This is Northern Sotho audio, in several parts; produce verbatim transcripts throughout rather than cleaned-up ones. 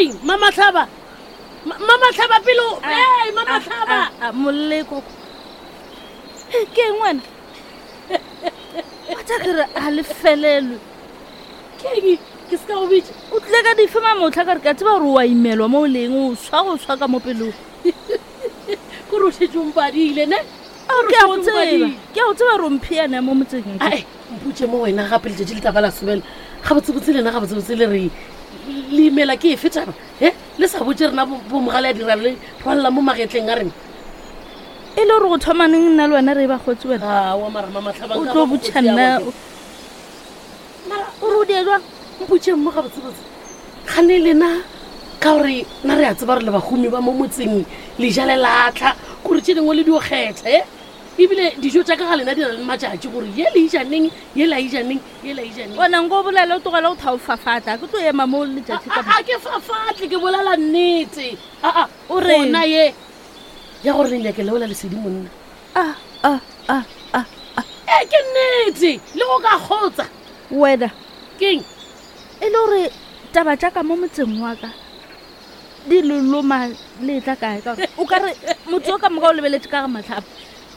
Keng Mamahlaba? Mamahlaba pelo. Hey Mamahlaba. Moleko. Ke eng wena? Wa tsa kere a le felelwe. Keng ke se ka go bitša? O tlile ka dife mamotlha ka re ka tseba gore o a imelwa mo o leng o swa go swa ka mo pelong. Ke re o šetše o mpadile ne? Ke a go tseba. Ke a go tseba gore o mphiana mo motseng. Ai, mpotše mo wena gape letšatši le taba la sobela. Gabotsebotse lena gabotsebotse le re le imela ke efe taba? He? Le sa botše rena bo mogale a dira le rwalla mo magetleng a rena. E le gore go thomaneng nna le wena re ba kgotse wena. Aowa mara Mamahlaba o tlo botšha nna. Mara o re o die jwang? Mpotše mo gabotsebotse. Gane lena ka gore nna re a tseba gore le bahumi ba mo motseng le ja le latlha kore tše dingwe le dio kgetha e ebile dijo tša ka ga lena di na le matšatši gore ye le ijaneng ye la ijaneng ye la ijaneng. Ona nko bolela o tlogela go thaofafatla ke tlo ema mo letšatši ka a ke fafatle ke bolela nnete. Aa o re ona ye ya gore le nyake leola lesedi monna. A a a a e ke nnete le go ka kgotsa wena keng e le gore taba tša ka mo motseng wa ka di leloma le tla kae ka o ka re motho o ka moka o lebeletse ka ga Mahlaba.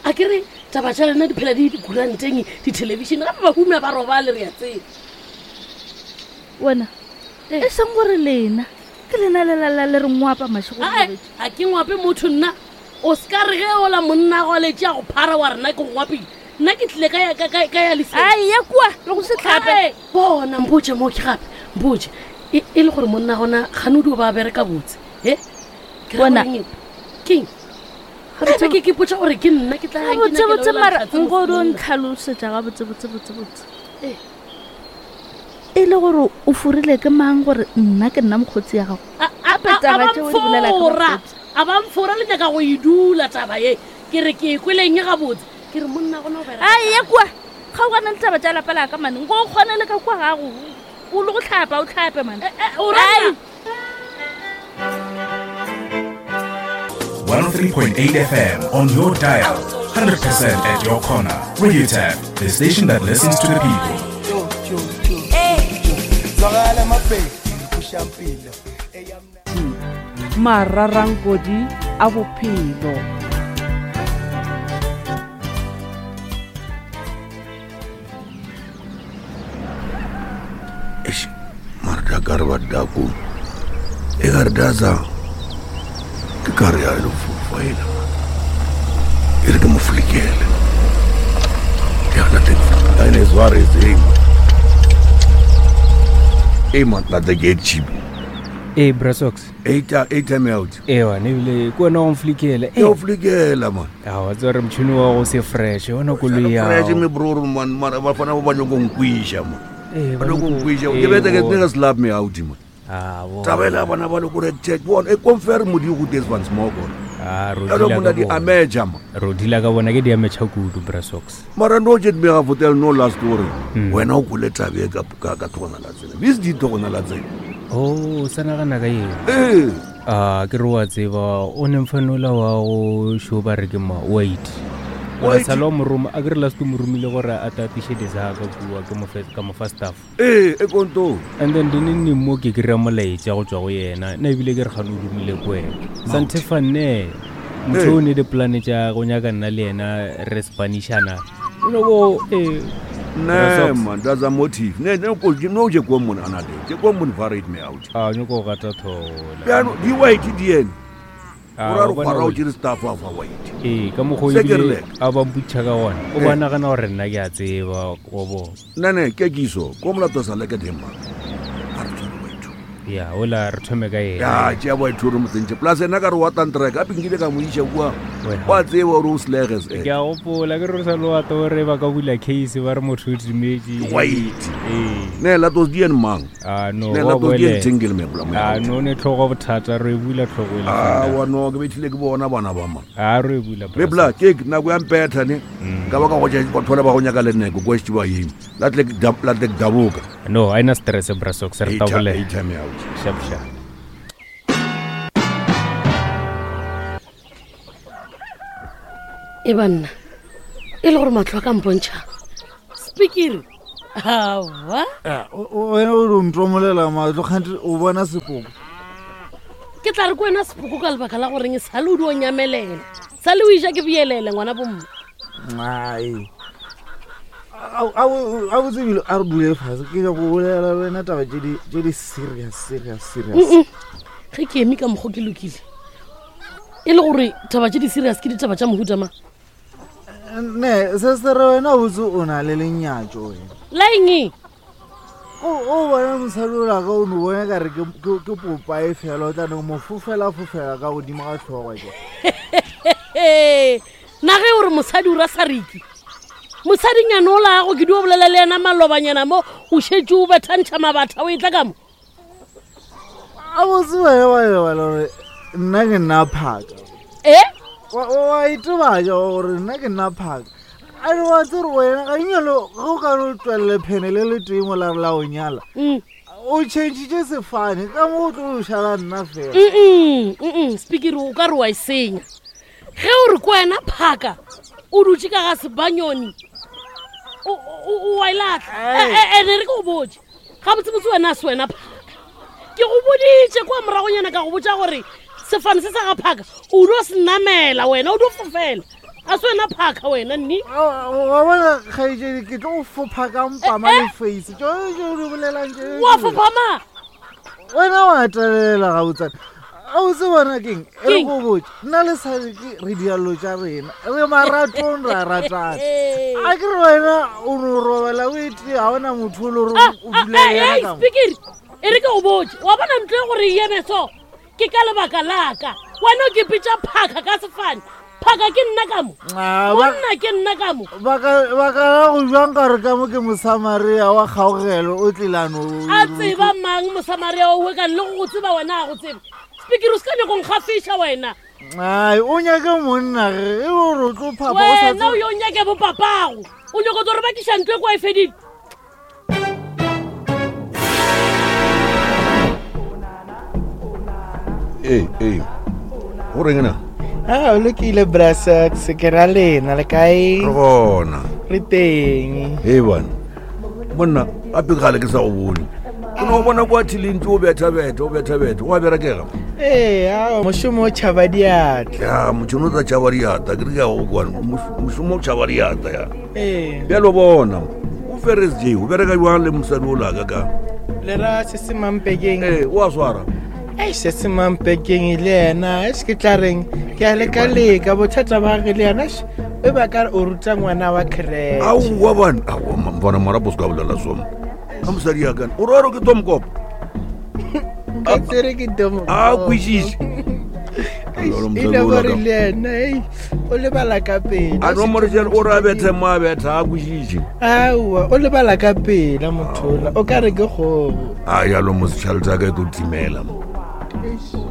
A ke re taba tša lena di phela di dikuranteng dithelebišene gape bahumi ba robale re a tseba. Wena e seng gore lena ke lena le lala le re ngwapa mašego. A ke ngwape motho nna. O se ka re ge ola monna go letše a go phara wa rena ke go ngwapile. Nna ke tlile ka ka ka ya lesedi. Ai ya kua le go se tlhape. Bona mpotše mo ke gape mpotše e le gore monna gona gane o dio ba bereka botse. He? Ke Bona keng? Gape ke ke potša gore ke nna ke tla yang ke nyake botse mara nko o ntlhalosetša ga botse botse botse botse. E le gore o furile ke mang gore nna ke nna mokgotsi ya gago? Gape taba tšeo di bolela ka mokgotsi. A ba mfora le nyaka go e dula taba ye. Ke re ke kweleng ga botse. Ke re monna gona o bereka. Ai ya kua. Ga o gana le taba tša lapa la ka mane. Nko o kgone le ka kua gago. O le go tlhapa o tlhape mane. O rata. one oh three point eight F M on your dial, one hundred percent at your corner. Radio Tap, the station that listens to the people. Mararankodi a bophelo. Eish, mara ka re ba dako. E ka re daza. Ke ka re ya le fofa ena. E re ke mo flikele. Ya la teng. Ene zware tseng. E man la the gate chip. Eh Brasox. Eight eight time out. Eh wa ne bile ko na o flikele. E o flikela man. A wa tsore mtshini wa go se fresh ona koloi ya. Fresh me bro man mara ba fana ba nyoko nkwisha man. Eh ba nyoko nkwisha. Ke bete ke niggas love me out man. Ah bo. Tabela bana ba le gore check bona e confirm modi go des van smoke. Ah ro dila ka di ameja man. Ro dila ka bona ke di ameja kudu Brasox. Mara no jet me ga fotel no last story. Wena o kule tabe ka ka ka thona la tsela. This di thona la tsela. Oh, sa nagana ka eng? Eh. Ah, ke re wa tseba o ne mfanola wa go shoba re ke ma wait. Wa sala mo roma a ke re last mo romile gore a tatiše desaka bua ke mo ka mo fa staff. Eh, e konto. And then dine ni mo ke kry-a molaetša go tswa go yena. Nna ebile ke re gane o romile ko wena. Santhe fanne. Motho o ne di plan tša go nyaka nna le yena re Spanishana. No go eh Ne man, that's a motive. Ne ne ko no je ko mona ana de. Je ko mon varied me out. Ah, nyoko gata thola. Ya no, di white di ene. Ora ro fara o dire staff wa white. Eh, ka mo go ile a ba mputša ka gona. O ba nagana gore nna ke a tseba go bo. Ne ne ke kiso, ko molato sa le ke tema. A re tshware white. Ya, ola re thome ka yena. Ya, tšea white re mo tsentše. Plus ena ka re wa tantraka, gape nkile ka mo iša kua. Wa tseba gore o sleges eh. Ke a gopola ke re sa lo ato re ba ka bula case ba re motho o timetše. White. Eh. Ne la tos dien mang. Ah no. Ne la tos dien tingle me bla mo. Ah no ne tlhogo bothata re bula tlhogo ile. Ah wa no ke betlile ke bona bana ba ma. Ah re bula. Le bla ke nako ya mpetha ne. Ka ba ka go tša batho ba go nyaka le neko go tšiba yeng. La tle la tle daboka. No, aina stress Brasox re tabole. Sharp sharp. E banna e le gore matlho a ka mpontšha speaker awa wena o re ntomolela matlho kgante o bona sepoko Ke tla re ko wena sepoko ka lebaka la goreng sa le o di o nyamelela. Sa le o iša ke boyelele ngwana bomma. Ai. A a botsebile a re dule fase ke nyako bolela le wena taba tše di tše di serious serious serious. Ge ke eme ka mokgo ke lokile. E le gore taba tše di serious ke ditaba tša mohuta mang? Ne, se se re wena botse o na le lenyatšo wena. La eng? O o bona mosadi o la ka o no bona ka re ke ke popa e fela o tla no mo fofela fofela ka godimo ga tlhogo ke. Na ge o re mosadi o ra sariki. Mosadinyana o la go ke dio bolela le yena malobanyana mo o šetše o bethantšha mabatha o e tla ka mo. A botse wena wa lebala gore nna ke nna phaka. Eh? Wa wa itebatša gore nna ke nna phaka. A re wa tsere wena ga nyalo ge o ka no tswelele phene le le tee mo la re la o nyala. O tšhentšhitše sefane ka mo o tlo šala nna fela. Mm mm speaker o ka re wa e senya. Ge o re ko wena phaka o dutše ka ga sebanyoni o o wa e lahla. E ne re ke go botše. Ga botsebotse wena a se wena phaka. Ke go boditše kwa moragonyana ka go botša gore sefane se sa ga phaka o dio se namela wena o dio fofela. A se wena phaka wena nni. Wa bona kgaetšedi ke tlo go fopha ka mpama le face. Tšone tšeo di bolelang tše. Wa fopha ma? Wena wa telela gabotsana. A o se bona keng? E re go botše. Nna le Sariki re diallo tša rena. Re maratong ra ratana. A ke re wena o no robala o ete ga ona motho o le gore o dula le yena ka mo. Speaker, e re ke go botše. Wa bona ntlo e gore e eme so? Ke ka lebaka la ka. Wena o ke pitša phaka ka sefane. Phaka ke nna ka mo. Monna ke nna ka mo. Baka baka la go jwang ka re ka mo ke Mosamaria wa kgaogelo o tlilano. A tseba mang Mosamaria o ka le go tseba wena a go tseba. Speaker o se ka nyako nkgafiša wena. Ai o nyake monna ge e o re tlo phapa o sa Wena o yo nyake bo papago. O nyako tlo re bakiša ntlo e kwa e fedile. Ee, ee. Go reng na? Ah, o lokile Brasax, ke ra lena le kae? Re gona. Re teng. Hei bana. Monna, gape kgale ke sa go bone. Ke no bona kwa thileng o betha-betha, o betha-betha, o a berekega. Ee, ao, mošomo o tšhaba diatla. Ya, mošomo o tsa tšhaba diatla, ke re ke a go kwana. Mošomo o tšhaba diatla ya. Ee. Bjalo bona, o Ferris J, o bereka jwang le mosadi o laka ka? Le ra se se mampekeng. Ee, o a swara. Ei, se se mampekeng le yena, e se ke tla reng, ke a leka-leka, bothata ba gage le yena, e ba ka re o ruta ngwana wa creche. Aowa bana, aowa bona marapo se ka bolela soma. Ka mosadi ya kana, o re wa re ke Tomkop? Nka tsere ke Tomkop. A kwešiše. E le gore le yena, ei, o lebala ka pela. A no more jalo, o re a bethe mo a betha, a kwešiše. Aowa, o lebala ka pela mothola, o ka re ke kgogo. A jalo mo setšhale sa ka e tlo timela mo.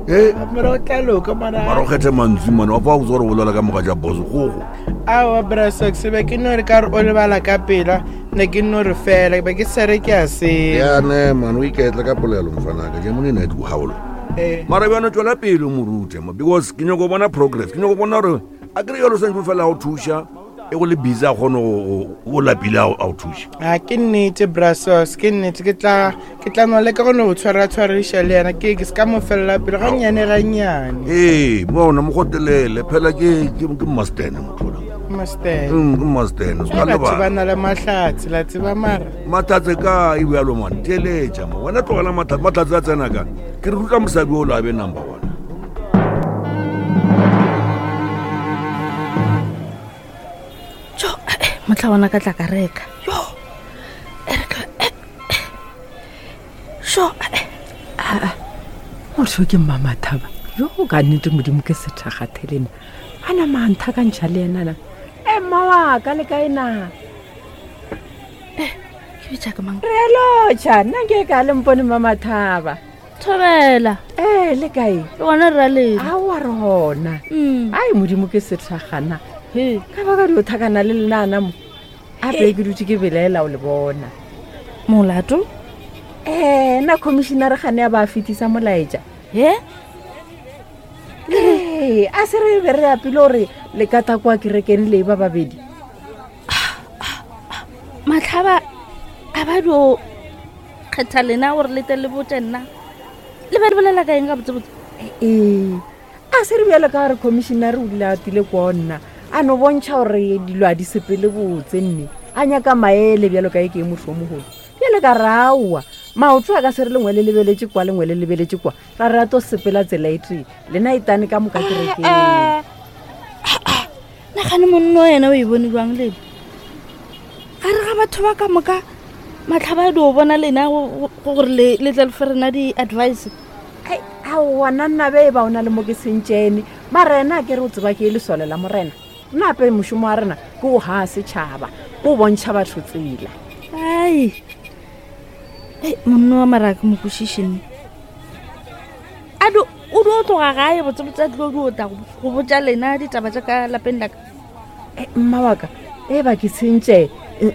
Eh, mara o tla loka mara. Mara o kgethe mantswe mane, wa fa o gore o bolela ka moga ja boss gogo. Aowa Brasax, be ke no re ka re o lebala ka pela, ne ke no re fela, be ke sa re ke a se. Ya ne man, o iketle ka polelo mfanaka, ke mone ne di haolo. Eh. Mara bjana tswela pele mo rute mo because ke nyako bona progress, ke nyako bona gore a kere yalo santse fela o thuša e go le busy a kgone go o lapile a o thuša. A ke nnete Brasax, ke nnete ke tla ke tla no leka go no tshwara tshwariša le yena, ke ke se ka mo fella pele ga nnyane ga nnyane. Ee, bona mo gotelele phela ke ke ke master motho la. Master. Mm, ke master, se ka Batho ba lebala. na le mahlatse, la tseba mara. Mahlatse ka e bjalo man, theeletša mo. Wena tlogela mahlatse, mahlatse a tsena ka. Ke re ruta mosadi o la be number one. Jo, mohla bona ka tla ka reka. Jo. E re ka Sho, Aa, motho ke Mmamathaba. Jo ka nnete modimo ke sethakgathelena. A nama a nthakantšha le yena na. E mma wa ka le kae na? ke bitša ka mang? Re a lotšha, nna nke ka le mpone Mmamathaba. Thobela. Ee, le kae? Le gona re ra lena. Aowa re gona. Mm. Ai modimo ke sethakgana. He. Ka baka dio thakana le lena mo. Ape ke dutše ke belaela o le bona. Molato? Eh, na commissioner gane a ba fetisa molaetša. He? Ee, a se re be re apile gore le ka ta kwa kerekeng le ba babedi. Matlhaba a ba dio kgetha lena gore le tle le botse nna. Le be le bolela ka eng ka botsebotse? Ee, a se re bjalo ka gore commissioner o dile a tile kwa nna a no bontšha gore dilo a di sepele botse nne a nyaka maele bjalo ka e ke motho o mogolo bjale ka re aowa maoto a ka se re lengwe le lebeletše kwa lengwe le lebeletše kwa ra re a to sepela tsela e tee lena e tane ka moka kerekeng. Nagane monno yena o e bone jwang lena gare ga batho ba ka moka matlhaba a di o bona lena gore le tle le fe rena di-advice. Aowa nna nna be e ba o na le mo ke sentšene mara ena a ke re o tseba ke e lesole la morena nna ape mošomo wa rena ke o ga setšhaba ke o bontšha batho tsela. Ai ei monno wa mara ke mo kwešišene a di o di o tloga gae botsebotse a dilo di o tla go botša lena ditaba tša ka lapeng laka. Mma wa ka e ba ke tshentše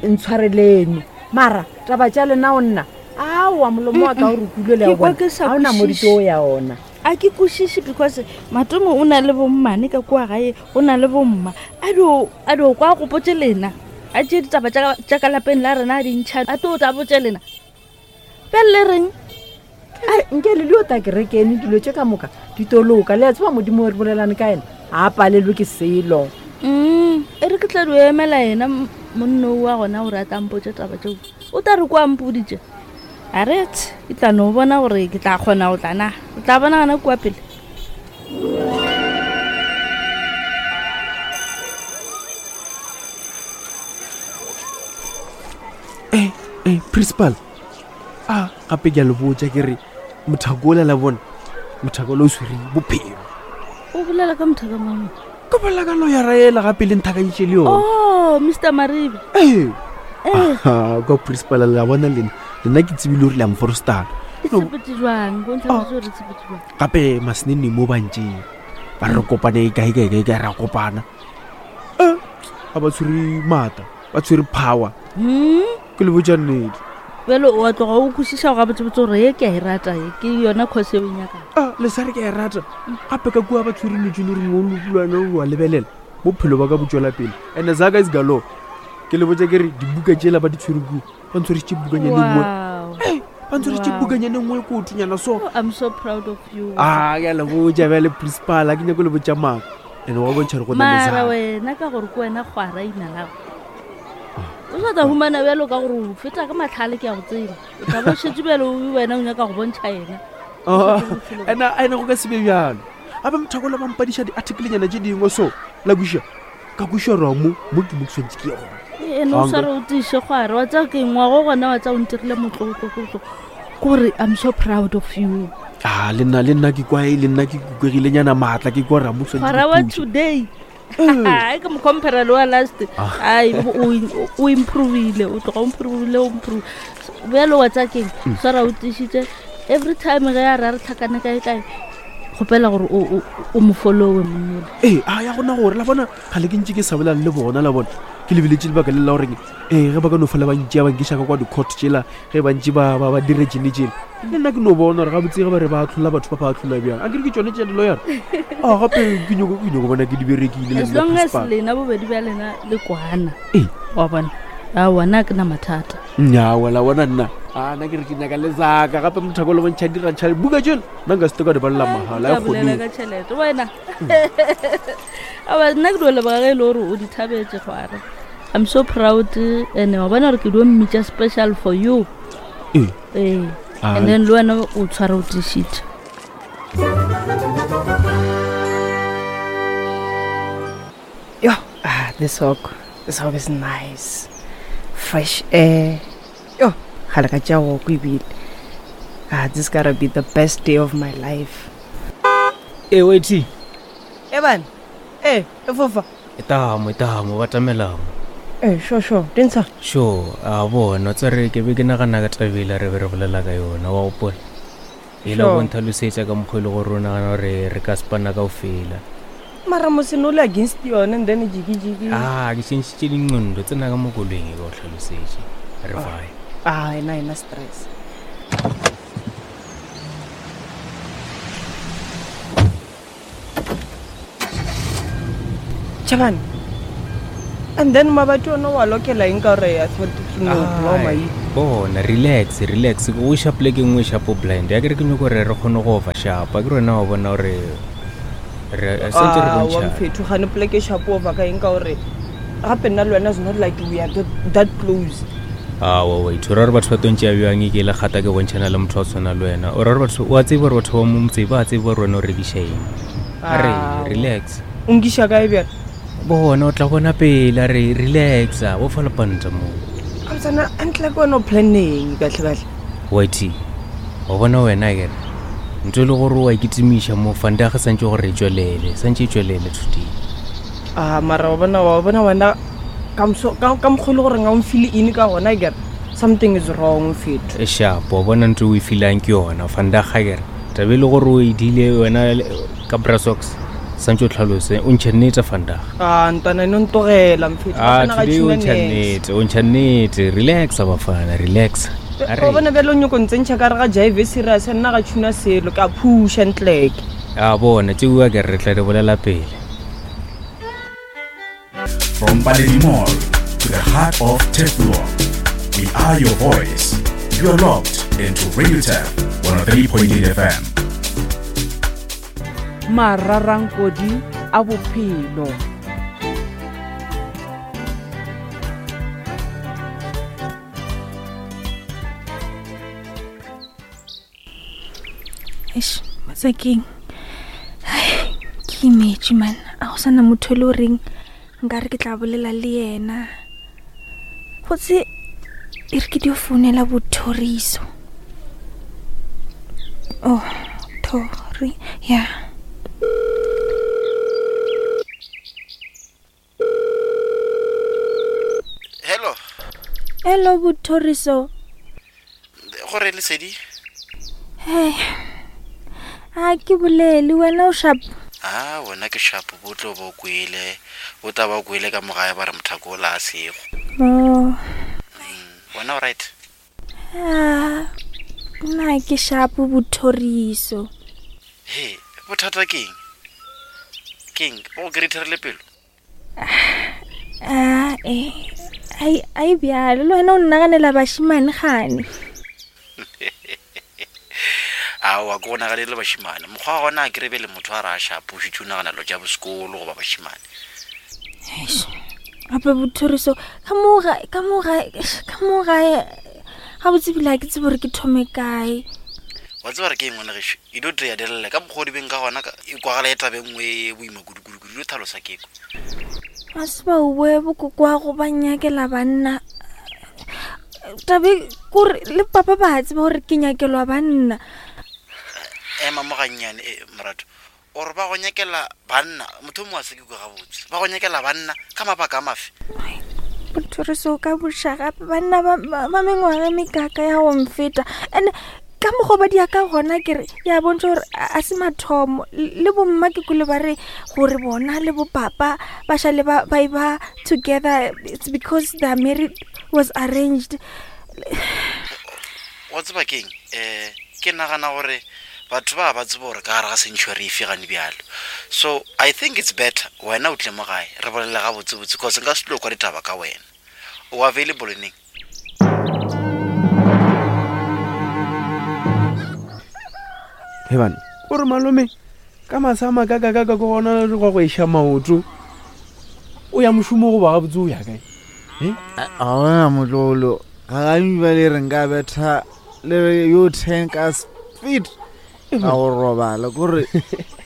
ntshwarelene mara taba tša lena o nna aowa molomo wa ka o re kulo le ya bona ga ona modito o ya ona. A ke kwešiše because Matomo o na le bommane ka kua gae o na le bomma a di a di o kwa gopotse lena a tšee ditaba tša ka lapeng la rena a di ntšha a tlo tla botše lena bjale le reng. Nke le dio ta kerekene dilo tše ka moka di toloka le a tseba modimo re bolelane ka ena ga a palelwe ke selo. Mm e re ke tla dio emela yena monno wa gona gore a tla mpotše taba tšeo o tla re kwa mpoditše a re ke tla no bona gore ke tla kgona go tla na o tla bona gona kua pele. Eh, eh, principal a gape ke a le botša ke re mothako ola la bona mothako ola o swere bophelo. O bolela ka mothaka mang? Ke bolela ka loyara ela gape le nthakantše le yona. Oh Mister Maribe. Ee kwa principal la bona lena lena ke tsebile gore le a mforostana. Gape masenene mo bantšeng ba re kopane kae kae kae kae ra kopana ga ba tshwere maatla ba tshwere power ke le botša nnete. Bjale o a tloga o kwešiša go gabotsebotse gore ye ke a e rata ye ke yona course e o nyakang. A le sa re ke a e rata gape ka kua ba tshwere lotse le reng o lopulwana o a lebelela bophelo ba ka bo tswela pele and zaka is galo ke le botša ke re dibuka tšela ba di tshwere kua ba ntshwarisitše bukanyane nngwe ba ntshwarisitše bukanyane nngwe ko otonyana so. I'm so proud of you. A ke a le botša bjale principal a ke nyako le botša maaka and wa bontšha re go na le mara wena ka gore ke wena kgwara ina lago o sa tla humana bjalo ka gore o feta ka matlhale ke a go tseba o tla bo šetše bjalo wena o nyaka go bontšha yena. Ena ena go ka se be bjalo gape mothako la bampadiša di-articlenyana tše dingwe so la kweša ka kweša ra mo mo ke mo ke tshwanetse ke ye gona. Ene o sa re o tiše kgware wa tsa ke ngwago gona wa tsa o ntirile motlotlotlotlo kore I'm so proud of you. A le nna le nna ke kwa le nna ke kukwegilenyana maatla ke kwa ra mo tshwanetse kgwara wa today ai ke mo compare le wa last ai o improvile o tloga o improvile o improve bjalo wa tsa keng swara o tišitše every time ge a re a re tlhakane kae kae kgopela gore o mo followe monnole. Ee a ya gona gore la bona ga le ke ntše ke sa bolane le bona la bona ke lebeletše lebaka le la goreng ee ge ba ka no fola ba ntšea ba nkiša ka kwa di-court tšela ge bantši ba ba dire tšene tšela le nna ke no bona gore gabotse ge ba re ba atlhola batho ba ba atlhola bjang a kere ke tšone tša diloyara a gape ke nyako ke nyako bona ke di berekile as long as lena bobedi bja lena le kwana ee wa bona aowa nna ke na mathata. Nnyaa la bona nna a nna ke re ke nyaka le zaka gape mothako le bontšha dirantšha buka tšela nna nka se te ka di balela mahala e kgone ka tšhelete wena. Aowa nna ke dio leboga ge e le gore o di thabetše kgwara. I'm so proud and wa bona gore ke dio mmitša special for you. Ee ee and then le wena o tshware o tišitše. Yo, ah, this walk, this walk is nice. Fresh air. Yo, ga le ka tša walk ebile. Ah, this gotta be the best day of my life. Eh, wait. Evan. Eh, e fofa. Etamo, etamo, batamelamo. Eh, sure, sure. Dintsha. Sure, a bona, tsare ke be ke nagana ka tabela re be re bolela ka yona, wa gopola. E la go ntlhalosetša ka mokgwa e le gore o nagana gore re ka spana kaofela. Mara moseno le against yone and then jiki jiki. Ah, ke tšhentšhitše dingqondo tsena ka mo koloing e ka o tlhalosetše. Re fae. Ah, ena ena stress. Chabane. And then mabato ono wa lokela eng ka gore I thought it no blow my. Bona, relax, relax. Go iša poleke nngwe shapo blind. Ya ke re ke nyako gore re kgone go ofa shapa. Ke rena wa bona gore re santse re Ah, wa bontšhana. mfetho gane poleke shapo over ka eng ka gore gape nna le wena is not like we are that, that close. Awa wait, o ra gore batho ba tontše ya bjang ke le kgata ke bontšhana le motho wa tshwana le wena. O ra gore batho wa tseba gore batho ba mo motse ba tseba gore wena o rekiša eng. A re Ah, relax. O nkiša kae bjale? Bona o tla bona pele a re relaxa, bo fa lepanta mo. Gabotsana antle ke wena o planneng kahle-kahle. Whitey, wa bona wena kere ntho e le gore wa ikitimiša mo fandaga santse gore e tswelele, santse e tswelele today. A mara wa bona wa bona wena ka moso- ka ka mokgwa e le gore ga o mfile eng ka gona kere something is wrong mfetho. E shapo, wa bona ntho e o e feelang ke yona fandaga kere tabe e le gore o e dile wena le- ka brasox santse o tlhalose o ntšhe nnete fandaga. A ntwana eno ntogela mfetho. Ah, Bafana ga today o tšhuna ntšha nex. nnete, o ntšha nnete, relaxa bafana, relax. A Wa re bona bjale o nyako ntsentšha ka re ga jive serious nna ga tšhuna selo ke a phusha ntleke. a bona tšeo a kere re tla di bolela pele. From Paledi Mall to the heart of Teflon, we are your voice. You are locked into Radio Tef one oh three point eight F M. Mararankodi a bophelo. Eish, matsakeng. Ai, ke imetše man. A go sana motho e le goreng nkare ke tla bolela le yena. Gotse e re ke dio founela bothoriso. Oh, thori, ya. Hello, Hello bothoriso. gore lesedi? Hey. A ke bolele wena o sharp. Ah, wena ke sharp bo tlo bo kwele. Bo tla ba kwele ka mogae ba re mothako o la a sego. Oh. Wena o right? Ah, nna ke sharp bothoriso. He, bothata ke eng? Ke eng? Bo go kry-ithare pelo? Ah, eh. Ai ai bjalo le wena o nnaganela bashimane gane. Aowa, ke go naganele bashimane. Mokgwa wa gona a ke rebe le motho a re a sharp, o šetše o nagana dilo tša bosekolo goba bashimane. Eish, gape bothoriso ka mo gae ka mo gae ka mo gae ga botse bile ha ke tsebe gore ke thome kae. Wa tseba re ke eng ngwana gešo? E dio trea delele ka mokgwa o di beng ka gona ka- e kwagala e taba e nngwe e boima kudu-kudu-kudu. Dio tlhalosa ke ko. Ga se ba oe bokokwago ba nyakela banna. Tabe kore le papa ba tseba gore ke nyakelwa banna. Ema mo gannyane, eh, morato. O re ba go nyakela banna, motho o mongwe a se ke kwa gabotse. Ba go nyakela banna ka mabaka a mafe? Bothoriso ka boša gape banna ba ba- ba mengwaga e mekaka ya go mfeta. And ka mokgwa ba dia ka gona ke re ya bontšha gore a a se mathomo. Le bomma ke kwele ba re gore bona le bopapa ba šale ba ba e ba together it's because their marriage was arranged. Wa tseba ke eng? Eh, ke nagana gore batho ba ba tsebe gore ka gare ga century efe gane bjalo. So I think it's better wena o tle mo gae re bolele gabotsebotse, cause nka se tlo kwa ditaba ka wena. O available neng? He bana, o re malome ka masa a makakakaka ke gona le go go iša maoto. O ya mošomo goba gabotse o ya kae? Eh? A gona motlolo ga gantši ba le re nka betha le yo ten ka speed ka go robala kore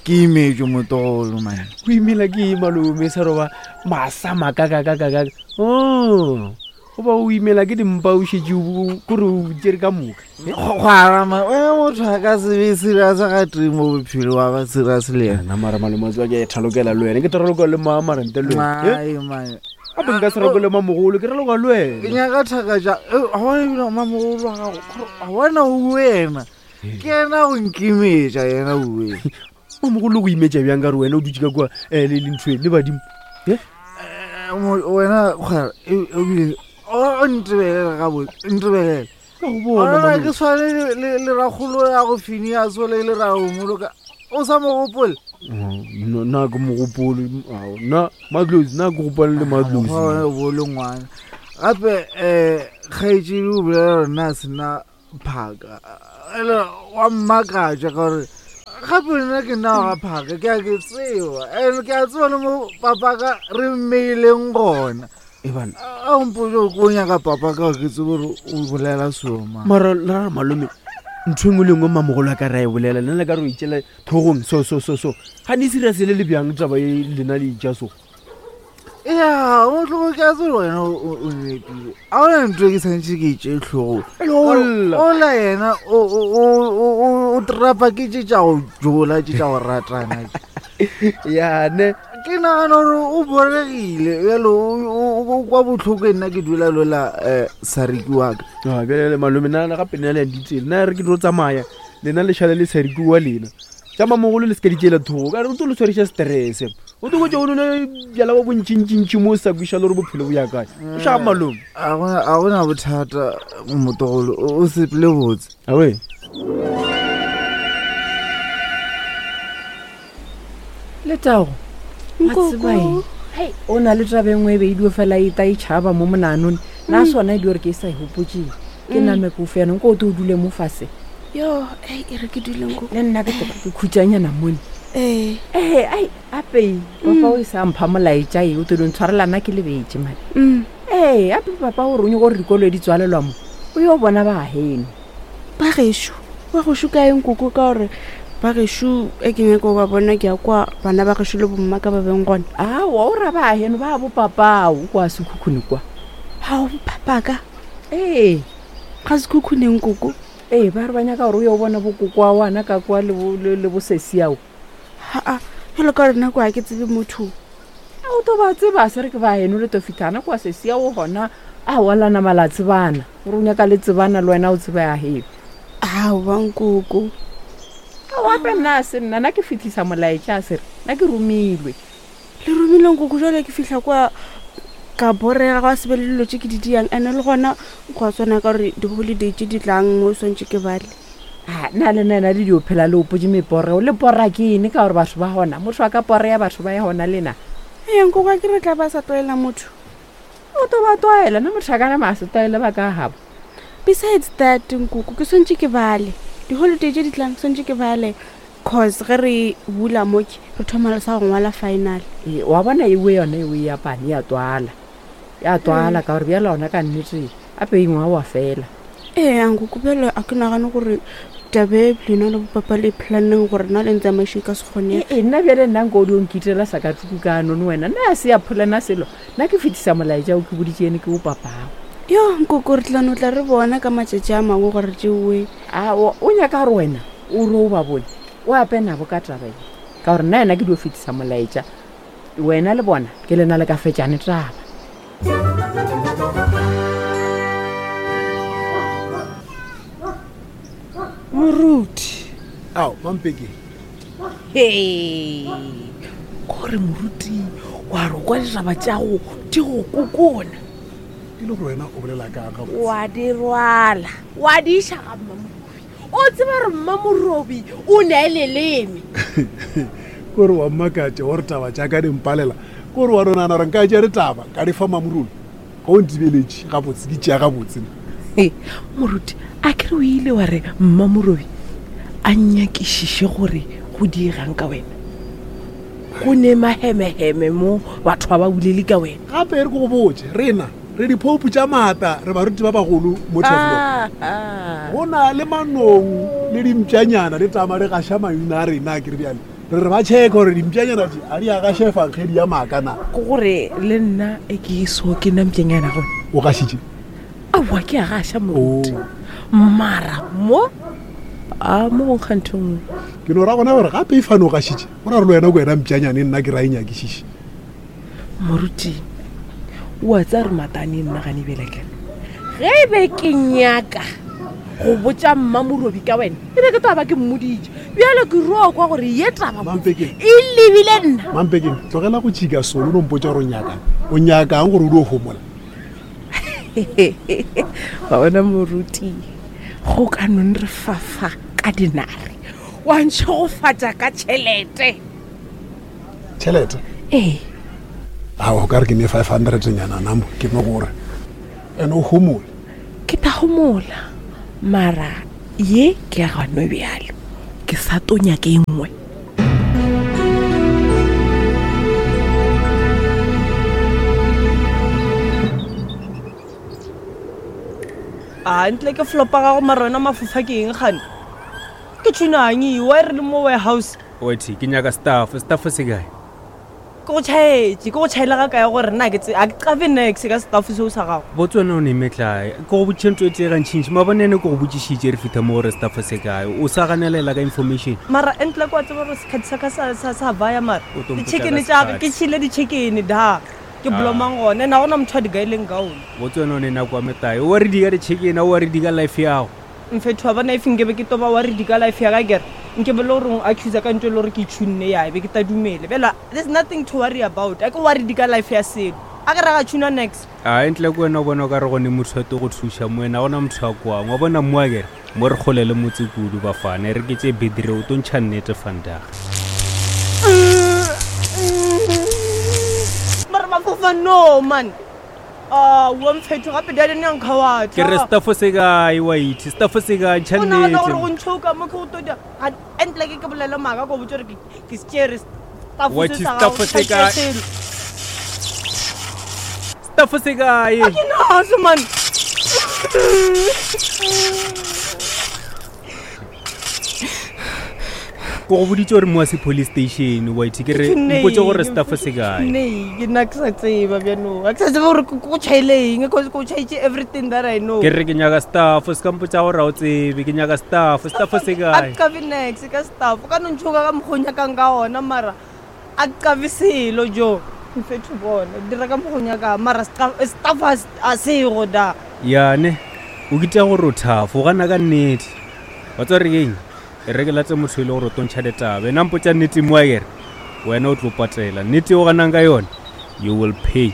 ke imetšwe motlogolo man. O imela ke eng malome sa roba masa makakakakaka? Oh, goba o imela ke dimpa o šetše o- kore o tšere ka moka. Kgwara ma wena motho a ka se be serious ga tee mo bophelo wa ba serious le yena. Nna mara malome a tseba ke a thalokela le wena, ke tharaloka le mama ntle le wena. Ai, man. Gape nka se raloke le mamogolo, ke raloka le Ke wena. nyaka thaka tša ga bona ebile mamogolo wa gago ga bona o wena ke yena go nkimetša yena owe. Mamogolo go imetša bjang ka gore wena o dutše ka kua eh, le le ntho e, le badimo? Eh? Wena kgwara ebile o ntebelele gabotse ntebelele. Ka go bona, Ona malome. ke tshwane le- le le rakgolo ya go Phineas ole le raomoloka o sa mo gopole. Oh, nna nna ke mogopolo nna madlozi nna ke gopole le madlozi. Mokgwa wa bo le ngwana gape um Kgaetšedi o bolela gore na sena phaka ele wa mmakatša ka gore gape nna ke nna wa ga phaka ke a ke tseba and ke a tseba le mo papaka re mmeileng gona ebana a mpotse gore ko o nyaka papa ka gore ke tsebe gore o bolela soma mara la re malome ntho engwe le engwe mamogolo a ka re a e bolela lena le ka re o itšela tlhogong so so so so ga ne serious le le bjang taba e lena le itša so ya motlogo ke a tsebe wena o o nepile a ona ntho e ke santse ke itše tlhogong Ola. ola yena o- o- o- o- o trapa ke tše tša go jola tše tša go ratana yane ke nagana gore o boregile bjalo o- o o kwa botlhoko e nna ke dula lola um sariki wa ka Ah, bjale le malome nna gape nna le ya ditsele nna re ke tlo tsamaya lena le šale le sariki wa lena tša mamogolo le se ka di tšeela thoko ka re o tlo le tshwariša stress o tlo kotse o nole bjala bo bontšintšintši mo o sa kweša le gore bophelo bo ya kae o šaa malome a gona a gona bothata motogolo o o sepele botse awe letago wa tseba eng? o na le taba e nngwe e be e dio fela e ta e tšhaba mo monanone nna sona e dio gore ke e sa e gopotseng ke Mm. name ke ofe yanong ko o te o dule mo fase yo ei e re ke duleng ko le nna ke toka ke khutšanyana mone ee ee ai apei papa o e sa mpha molaetša e o te ntshwarela nna ke lebetse mane Mm. ee ape papa o re o nyako gore dikolo di tswalelwa mo o yo bona ba geno ba gešo ba gešo ka eng koko ka gore ba gešo e ke nyako ba bona ke ya kwa bana ba gešo le bomma ka ba beng gona aowa o ra ba geno ba bo papao kwa sekhukhune kwa ao papaka ee ga sekhukhuneng koko ee ba re ba nyaka gore o yo bona bokoko wana ka kwa le bo- le le bosesiao aa jalo ka gore nako ga ke tsebe motho a o to ba tseba se re ke ba eno le to fitlhana kwa sesiao gona a walana mala tsebana gore o nyaka le tsebana le wena o tseba ya geno aowa nkoko aoape nna a se nna nna ke fitlhisa molaetša a sere nna ke romilwe le romileng koko jalo ke fitlha kwa ka borega gwa sebe le dilo tse ke di diang ande le gona go a tshwana ka gore di-holiday tse di tlang mo swantse ke bale a nna le nna le dio phela le opotse meporeo le pora ke eng ka gore batho ba gona motho a ka poreya batho ba ya gona lena ee nkoko a ke re tla ba sa tlwaela motho o to ba tlwaela nna motho a ka nama a se tlwaele ba ka gabo besides that nkoko ke swantse ke bale di-holiday tse di tlang swantse ke bale cause ge re bula moke re thoma le sa go ngwala final Ee, wa bona ewe yone ewe ya pane ya twala ya twala ka gore bjala ona ka nnete ape engwe wa fela ee nkoko bjale a ke nagane gore tabe lena le bopapa le planneng gore na le ntsamaišo e ka se kgone ee nna bjale nna nko o di onkitela sakatuku ka none wena nna a se ya pholana selo nna ke fetisa molaetša o ke boditše ene ke o papago yo nkoko re tlano tla re bona ka matšatši a mangwe gore tšeoe a o o nyaka gore wena o re o ba bone o ape nabo ka taba e ka gore nna yena ke dio fetisa molaetša wena le bona ke lena le ka fetšane taba Moruti. Ao, mampeke. He. Kore moruti wa re kwa ditaba tša go di go kokona. E le gore wena o bolela ka ga Wa di rwala. Wa di iša ga mmamorobi. O tseba re mmamorobi o ne a leleme. Kore wa mmakatša wa re taba tša ka di mpalela. Kore wa nonana gore nka tšea ditaba ka di fa mamorolo. Ga o ntibeletše gabotse ke tšea gabotse. He, moruti a ke re o ile wa re mmamorobi a nyakišiše gore go diegang ka wena go ne mahemeheme mo batho ba ba bolele ka wena Gape e re ke go botše rena re diphoupu tša maata re baruti ba bagolo mo Turfloop. Ah, ah. Go na le manong le dimpšanyana di tama di gaša maina a rena a ke re bjale. Re re ba check gore dimpšanyana tše a di a gaša efankgedi ya maaka na. Ke gore le nna e ke so ke nna mpšanyana gone O gašitše? Aowa ke a gaša moruti mara mo a mo go nkga ntho e nngwe Ke no ra gona gore gape e fane o gašitše. Go ra gore le wena ke wena mpšanyane nna ke ra e nyakišiše. Moruti o a tsaya re matane nna gane belekela ge e be ke nyaka go botša mmamorobi ka wena e be ke taba ke mmoditše bjale ke rua kwa gore ye taba Mampekeng. e lebile nna Mampekeng tlogela go tšhika solo o no mpotša gore o nyakang. O nyakang gore o dio homola. wa bona moruti go ka nong re fafa ka dinare wa ntšhegofatša ka tšhelete Tšhelete? Ee. Ao, o ka re ke ne five hundred nyana nna mo ke no gore ene o homole. phomola mara ye ke ya gano bjalo ke sa to nyake e nngwe. A ntle ke flopa gago mara wena mafofa ke eng gane ke tshunang wa re le mo warehouse. Othi ke nyaka staff, staff se kae? Ke go tšhaetše, ke go tšhaela ga kae gore nna ke tse a ke qabe nex ka staff seo sa gago. Botse wena o ne metlae ke go botšiša ntho e tee gantšintši maabane ene ke go botšišitše re fitha mo gore staff se kae o sa ganelela ka information. Mara ntle kwa tseba gore sekhathi sa ka sa sa sa baya mara O tlo mpotša di-chicken ka tša ka ke sekhathi. tšhile di-chicken da ke Ah. blomang gone na gona motho a di gaileng ka one. Botse wena o ne nako ya metlae o re di ka di-chicken o re di ka life yago. Mfetho wa bona if nkebe ke toba wa re di ka life ya ka kere nke be le gore o accuse ka ntho e le gore ke tshunne ya be ke ta dumele bela there's nothing to worry about a ke worry di ka life ya selo a ke ra ga tshuna next. A ntle ke wena o bona o ka re gone motho a te go thuša mo wena gona motho a kwang wa bona mo a kere mo re kgole le motse kudu bafana re ke tše bedire o to ntšha nnete fandaga. Mara mafofa no man a wa mfetho gape dadi ne nkga wa Ke re staff se kae wa itse staff se kae ntšha o nagana gore go nnete. ntshoka mo ke go todia ntle ke ke bolele maaka ko botse gore ke ke se tšere staff Wa se itse sa staff gago, se kae? selo. Staff se kae? A ke naso man. Ke go boditše gore mo a se police station wa itse ke re mpotse gore staff se kae. Nei, ke nna ke sa tseba bjanong ga ke sa tseba gore ke go tšhaile eng cause ke go tšhaitše everything that I know. Ke re ke nyaka staff se ka mpotsa gore ga o tsebe ke nyaka staff staff se A kae. ke kabe nex ka staff o ka no ntshoka ka mokgwa o nyakang ka ona mara a ke kabe selo jo mfetho bona dira ka mokgwa o nyakang mara staff staff a s- a sego da. Yane o kita gore o thafo o gana ka nnete wa tseba re keng e re ke late motho e le gore o tlo ntšha ditaba ena mpotsa nnete mo a kere wena o tlo patela nnete o ganang ka yone you will pay.